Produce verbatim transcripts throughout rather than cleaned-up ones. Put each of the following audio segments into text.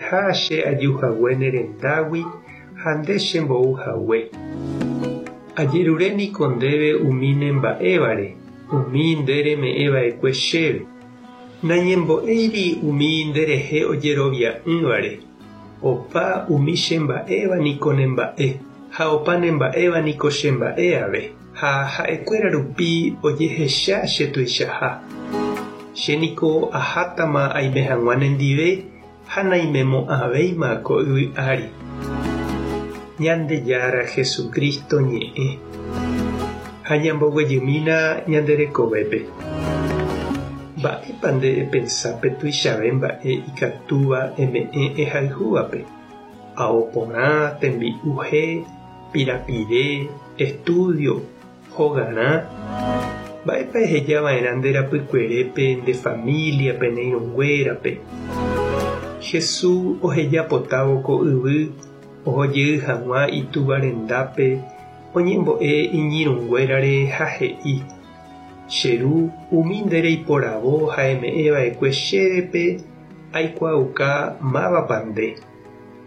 añeteha che aju hague ne rendágui ha nde chembou hague. Ajerure niko ndéve umi nemba'évare, umi nde reme'ẽva'ekue chéve. Nañembo'éiri umi nderehe ojerovia'ỹvare. Opa umi chemba'éva niko nemba'e, ha opa nemba'éva niko chemba'e ave, ha ha'ekuéra rupi ojehecha chetuichaha. Che niko ahátama aime hag̃ua nendive ha naimemo'ãvéima ko yvy ári. Ñandejára Jesucristo ñe'ẽ. Ha ñamboguejymína ñande rekovépe. Mba'épa nde epensa pe tuichave mba'e ikatúva eme'ẽ ehayhúvape. Ao porã, tembi'u he, pirapire, estudio, hogarã. Mba'épa ehejava'erã nde rapykuerépe, nde familiape, ne irũnguérape. Jesús ohejapotávo ko yvy ohojey hag̃ua itúva rendápe oñembo'e iñirũnguérare ha he'i: Che ru, umi nde reiporavo ha eme'ẽva'ekue chévepe aikuaauka mávapa nde.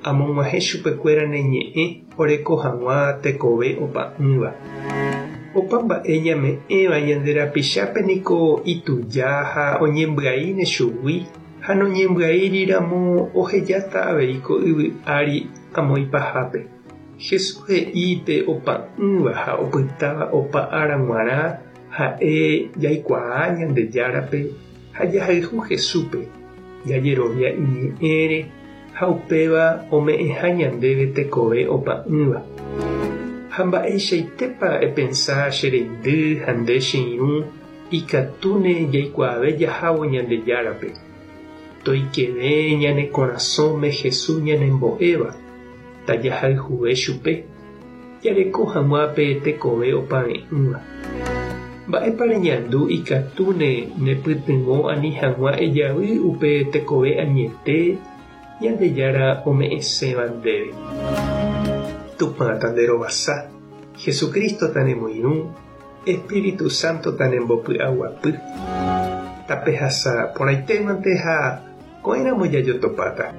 Amog̃uahẽ chupekuéra ne ñe'ẽ oreko hag̃ua tekove opa'ỹva. Opa mba'e ñame'ẽva ñande rapichápe niko ituja ha oñembyaíne chugui ha noñembyaíriramo ohejáta avei ko yvy ári amo ipahápe. Jesús he'i pe opa'ỹva ha opytáva opa ára g̃uarã ha'e jaikuaa Ñandejárape ha jahayhu Jesúspe, jajerovia iñe'ẽre ha upéva ome'ẽha ñandéve tekove opa'ỹva. Ha mba'eichaitépa epensa che reindy ha nde che irũ ikatúne jaikuaave jahávo Ñandejárape. Toikeve ñane korasõme Jesús ñanembo'éva, tajahayhuve chupe, jareko hag̃ua pe tekove opave'ỹva. Mba'épa reñandu ikatúne nepytyvõ ani hag̃ua ejavy upe tekove añete Ñandejára ome'ẽséva ndéve. Tupã tanderovasa, Jesucristo tanemoirũ, Espíritu Santo tanembopy'aguapy. Tapehasa porãitémante ha ko'ẽramo jajotopáta.